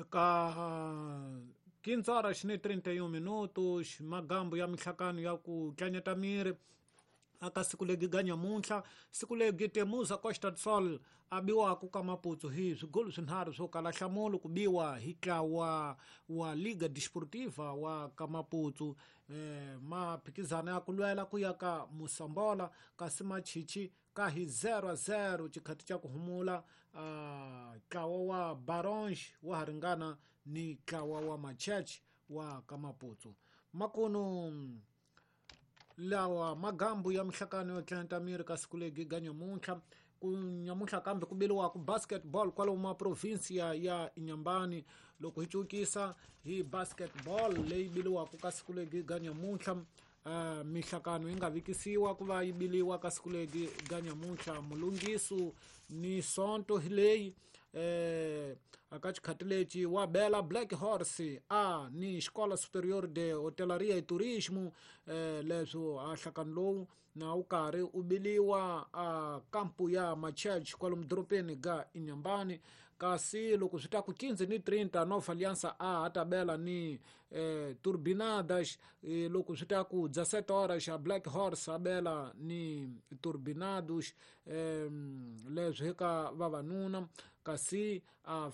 Eka 15 horas ni 31 minutos, magambo ya mihlakano ya ku tlanyeta miri aka siku legi ga nyamuntlha, siku legi Temuza Costa do Sol a biwaku ka Maputo hi swigolo swinharhu swo kala nhlamulo ku biwa hi ntlawa wa Liga Desportiva wa ka Maputo, maphikizano ya ku lwela ku ya ka Mosambola, kasi machichi ka hi 0-0 xikhati xa ku humula. Ntlawa wa Baronge wa ha ringana ni ntlawa wa Machurch wa ka Maputo. Makuno lawa magambu ya mihlakano yo tlanta miri ka siku legi ga nyamuntlha. Ku nyamuntlha kambe ku biliwaku basketball kwalomu ma provinsia ya Inhambane. Loko hi cukisa hi basketball leyi biliwaku ka siku legi ga nyamuntlha, mihlakano yi nga vikisiwa ku va yi biliwa ka siku legi ga nyamuntlha mulungisu ni sonto hi leyi. Aka xikhati lexi wa bela Black Horse a ni Escola Superior de Hotelaria e Turismo, leswo a hlakano lowu na wu karhi u biliwa a kampu ya Machurch kwalomu dorobeni ga Inhambane. Kasi loko swi ta ku 15:30 Nova Aliança a ha ta bela ni Turbinadas, loko swi ta ku 17 horas a Black Horse a bela ni Turbinados, leswi hi ka vavanuna. Kasi a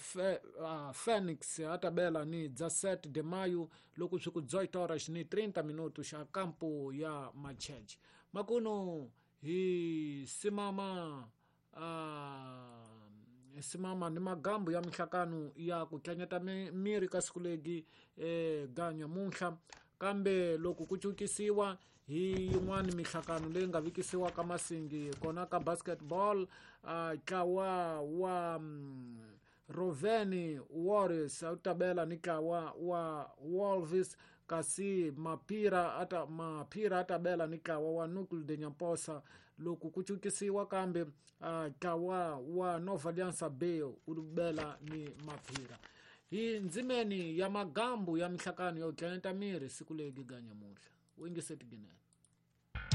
Phoenix a ta bela ni 17 de maio loko swi ku 18 horas ni 30 minutos a kampu ya Machurch. Makuno hi simama simama ni magambo ya mihlakano ya ku tlanyeta miri ka siku legi ga nyamuntlha. Kambe loko ku cukisiwa hi yin'wani mihlakano leyi nga vikisiwa ka masingi kona ka basketball, ntlawa wa Roveni Warriors a wu ta bela ni ntlawa wa Wolves, kasi Mapira ata bela ni ntlawa wa Núcleo de Nhamposa. Loko ku cukisiwa kambe ntlawa wa Nova Aliança B wu bela ni Mapira. Hi ndzimeni ya magambu ya mihlakano ya ku tlanyeta miri siku legi ga nyamuntlha. Wingiseti Ginene.